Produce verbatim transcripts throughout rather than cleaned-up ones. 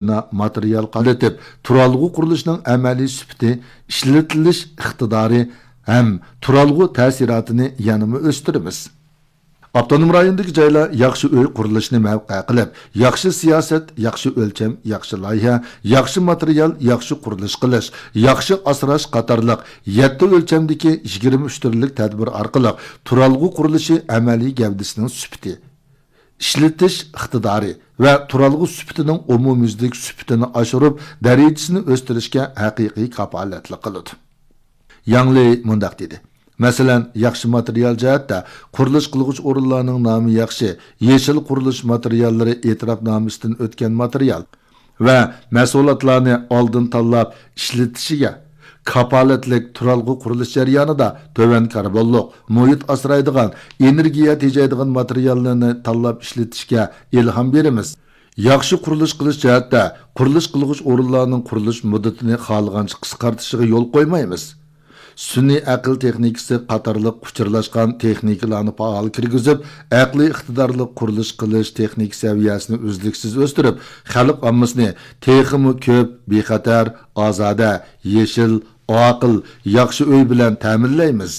ماتېرىيال قاتنىتىپ، تۇرالغۇ قۇرۇلۇشىنىڭ ئەمەلىي سۈپىتى، ئىشلىتىلىش ئىقتىدارى ھەم تۇرالغۇ تەسىراتىنى يەنىمۇ ئۆستۈرىمىز. ئاپتونوم رايوندىكى جايلار ياخشى ئۆي قۇرۇلۇشىنى مەۋقە قىلىپ، ياخشى سىياسەت، ياخشى ئۆلچەم، ياخشى لايىھە، ياخشى ماتېرىيال، ياخشى قۇرۇلۇش قىلىش، ياخشى ئاسراش قاتارلىق يەتتە ئۆلچەمدىكى يىگىرمە ئۈچ تۈرلۈك تەدبىر ئارقىلىق تۇرالغۇ قۇرۇلۇشى ئەمەلىي گەۋدىسىنىڭ سۈپىتى، ئىشلىتىش ئىقتىدارى ۋە تۇرالغۇ سۈپىتىنىڭ ئومۇميۈزلۈك سۈپىتىنى ئاشۇرۇپ، دەرىجىسىنى ئۆستۈرۈشكە ھەقىقىي كاپالەتلىك قىلىدۇ. ياڭ لېي مۇنداق دېدى، مەسىلەن، ياخشى ماتېرىيال جەھەتتە قۇرۇلۇش قىلغۇچ ئورۇنلارنىڭ نامى ياخشى، يېشىل قۇرۇلۇش ماتېرىياللىرى ئېتىراپنامىسىدىن ئۆتكەن ماتېرىيال ۋە مەھسۇلاتلارنى ئالدىن تاللاپ ئىشلىتىشىگە كاپالەتلىك تۇرالغۇ قۇرۇلۇش جەريانىدا تۆۋەن كاربونلۇق، مۇھىت ئاسرايدىغان، ئېنېرگىيە تېجەيدىغان ماتېرىياللارنى تاللاپ ئىشلىتىشكە ئىلھام بېرىمىز. ياخشى قۇرۇلۇش قىلىش جەھەتتە قۇرۇلۇش قىلغۇچ ئورۇنلارنىڭ قۇرۇلۇش مۇددىتىنى خالىغانچە قىسقارتىشىغا يول قويمايمىز. سۈنئىي ئەقىل تېخنىكىسى قاتارلىق ئۇچۇرلاشقان تېخنىكىلارنى پائال كىرگۈزۈپ، ئەقلىي ئىقتىدارلىق قۇرۇلۇش قىلىش تېخنىكا سەۋىيەسىنى ئۈزلۈكسىز ئۆستۈرۈپ، خەلق ئاممىسىنى تېخىمۇ كۆپ، بىخەتەر، ئازادە، يېشىل، ئاقىل، ياخشى ئۆي بىلەن تەمىنلەيمىز.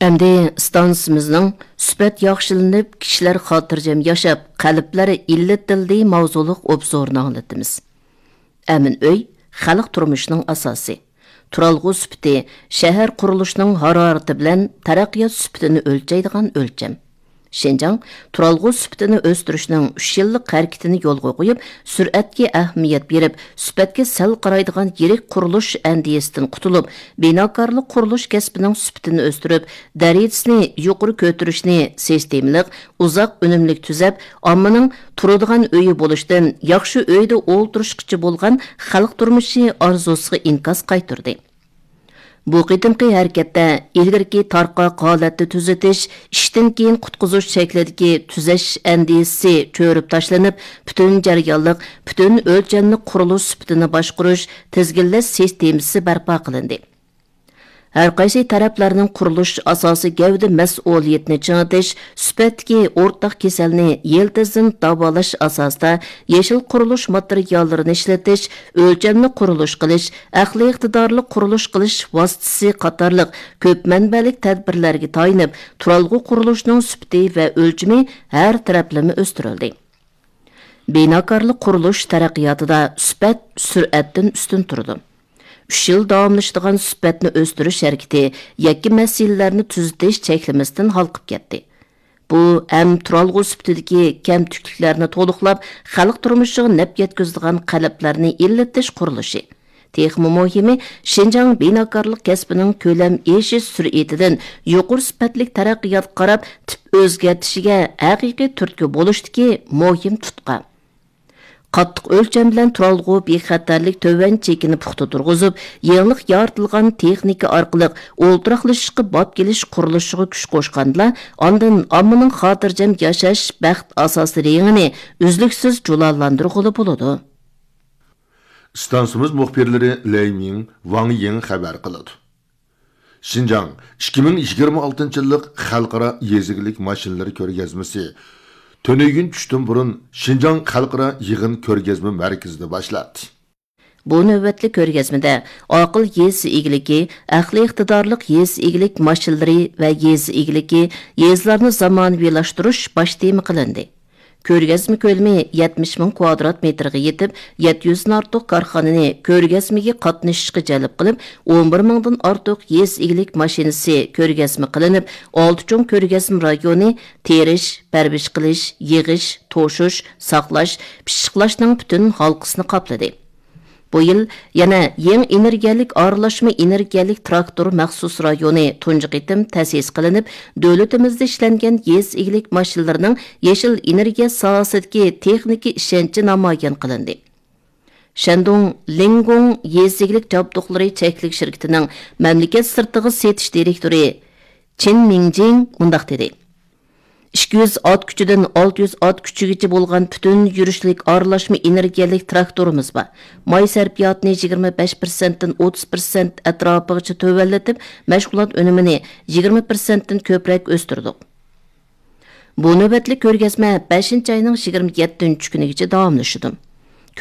ئەمدى ئىستانسىمىزنىڭ سۈپەت ياخشىلىنىپ، كىشىلەر خاتىرجەم ياشاپ، قەلبلەر ئىللىتىلدى ماۋزۇلۇق ئوبزورىنى ئاڭلىتىمىز. ئەمىن ئۆي خەلق تۇرمۇشىنىڭ ئاساسى. تۇرالغۇ سۈپىتى شەھەر قۇرۇلۇشىنىڭ ھارارىتى بىلەن تەرەققىيات سۈپىتىنى ئۆلچەيدىغان ئۆلچەم. شىنجاڭ تۇرالغۇ سۈپىتىنى ئۆستۈرۈشنىڭ ئۈچ يىللىق ھەرىكىتىنى يولغا قويۇپ، سۈرئەتكە ئەھمىيەت بېرىپ، سۈپەتكە سەل قارايدىغان يىرىك قۇرۇلۇش ئەندىزىسىدىن قۇتۇلۇپ، بىناكارلىق قۇرۇلۇش كەسپىنىڭ سۈپىتىنى ئۆستۈرۈپ، دەرىجىسىنى يۇقىرى كۆتۈرۈشنى سىستېمىلىق، ئۇزاق ئۈنۈملۈك تۈزەپ، ئاممىنىڭ تۇرىدىغان ئۆيى بولۇشتىن ياخشى ئۆيدە ئولتۇرۇشقىچە بولغان خەلق تۇرمۇشى ئارزۇسىغا ئىنكاس قايتۇردى. بۇ قېتىمقى ھەرىكەتتە ئىلگىرىكى تارقاق ھالەتنى تۈزىتىش، ئىشتىن كېيىن قۇتقۇزۇش شەكلىدىكى تۈزەش ئەندىزىسى چۆرۈپ تاشلىنىپ، پۈتۈن جەريانلىق، پۈتۈن ئۆلچەملىك قۇرۇلۇش سۈپىتىنى باشقۇرۇش، تىزگىنلەش سىستېمىسى بەرپا قىلىندى. ھەرقايسى تەرەپلەرنىڭ قۇرۇلۇش ئاساسىي گەۋدە مەسئۇلىيىتىنى چىڭىتىش، سۈپەتتىكى ئورتاق كېسەلنى يىلتىزدىن داۋالاش ئاساسىدا يېشىل قۇرۇلۇش ماتېرىياللىرىنى ئىشلىتىش، ئۆلچەملىك قۇرۇلۇش قىلىش، ئەقلىي ئىقتىدارلىق قۇرۇلۇش قىلىش ۋاسىتىسى قاتارلىق كۆپ مەنبەلىك تەدبىرلەرگە تايىنىپ، تۇرالغۇ قۇرۇلۇشىنىڭ سۈپىتى ۋە ئۆلچىمى ھەر تەرەپلىمە ئۆستۈرۈلدى. بىناكارلىق قۇرۇلۇش تەرەققىياتىدا سۈپەت سۈرئەتتىن ئۈستۈن تۇرىدۇ. ئۈچ يىل داۋاملىشىدىغان سۈپەتنى ئۆستۈرۈش ھەرىكىتى يەككە مەسىلىلەرنى تۈزىتىش چەكلىمىسىدىن ھالقىپ كەتتى. بۇ ھەم تۇرالغۇ سۈپىتىدىكى كەمتۈكلۈكلەرنى تولۇقلاپ، خەلق تۇرمۇشىغا نەپ يەتكۈزىدىغان قەلبلەرنى ئىللىتىش قۇرۇلۇشى. تېخىمۇ مۇھىمى، شىنجاڭ بىناكارلىق كەسپىنىڭ كۆلەم ئېشىش سۈرئىتىدىن يۇقىرى سۈپەتلىك تەرەققىياتقا قاراپ تىپ ئۆزگەرتىشىگە ھەقىقىي تۈرتكە بولۇشتىكى مۇھىم تۇتقا. قاتتىق ئۆلچەم بىلەن تۇرالغۇ بىخەتەرلىك تۆۋەن چېكىنى پۇختا تۇرغۇزۇپ، يېڭىلىق يارىتىلغان تېخنىكا ئارقىلىق ئولتۇراقلىشىشقا باب كېلىش قۇرۇلۇشىغا كۈچ قوشقاندىلا، ئاندىن ئاممىنىڭ خاتىرجەم ياشاش بەخت ئاساسىي رېڭىنى ئۈزلۈكسىز جۇلالاندۇرغىلى بولىدۇ. ئىستانسىمىز مۇخبىرلىرى لەي مىڭ، ۋاڭ يىڭ خەۋەر قىلىدۇ. شىنجاڭ ئىككى مىڭ يىگىرمە ئالتىنچى يىللىق خەلقئارا يېزا ئىگىلىك ماشىنىلىرى كۆرگەزمىسى تۈنۈگۈن چۈشتىن بۇرۇن شىنجاڭ خەلقئارا يىغىن كۆرگەزمە مەركىزىدە باشلاندى. بۇ نۆۋەتلىك كۆرگەزمىدە ئاقىل يېزا ئىگىلىكى، ئەقلىي ئىقتىدارلىق يېزا ئىگىلىك ماشىنىلىرى ۋە يېزا ئىگىلىكى، يېزىلارنى زامانىۋىلاشتۇرۇش باش تېما قىلىندى. كۆرگەزمە كۆلىمى يەتمىش مىڭ كۋادرات مېتىرغا يېتىپ، يەتتە يۈزدىن ئارتۇق كارخانىنى كۆرگەزمىگە قاتنىشىشقا جەلپ قىلىپ، ئون بىر مىڭدىن ئارتۇق يېزا ئىگىلىك ماشىنىسى كۆرگەزمە قىلىنىپ، ئالتە چوڭ كۆرگەزمە رايونى تېرىش، پەرۋىش قىلىش، يىغىش، توشۇش، ساقلاش، پىششىقلاشنىڭ پۈتۈن ھالقىسىنى قاپلىدى. بۇ يىل يەنە يېڭى ئېنېرگىيەلىك ئارىلاشما ئېنېرگىيەلىك تىراكتور مەخسۇس رايونى تۇنجى قېتىم تەسىس قىلىنىپ، دۆلىتىمىزدە ئىشلەنگەن يېزا ئىگىلىك ماشىنىلىرىنىڭ يېشىل ئېنېرگىيە ساھەسىدىكى تېخنىكا ئىشەنچى نامايان قىلىندى. شەندۇڭ لىڭگوڭ يېزا ئىگىلىك جابدۇقلىرى چەكلىك شىركىتىنىڭ مەملىكەت سىرتىغا سېتىش دىرېكتورى چېن مىڭجىڭ مۇنداق دېدى. ئىككى يۈز ئات كۈچىدىن ئالتە يۈز ئات كۈچىگىچە بولغان پۈتۈن يۈرۈشلۈك ئارىلاشما ئېنېرگىيەلىك تىراكتورىمىز بار. ماي سەرپىياتىنى يىگىرمە بەش پىرسەنتتىن ئوتتۇز پىرسەنت ئەتراپىغىچە تۆۋەنلىتىپ، مەشغۇلات ئۈنۈمىنى يىگىرمە پىرسەنتتىن كۆپرەك ئۆستۈردۇق. بۇ نۆۋەتلىك كۆرگەزمە بەشىنچى ئاينىڭ يىگىرمە يەتتىنچى كۈنىگىچە داۋاملىشىدۇ.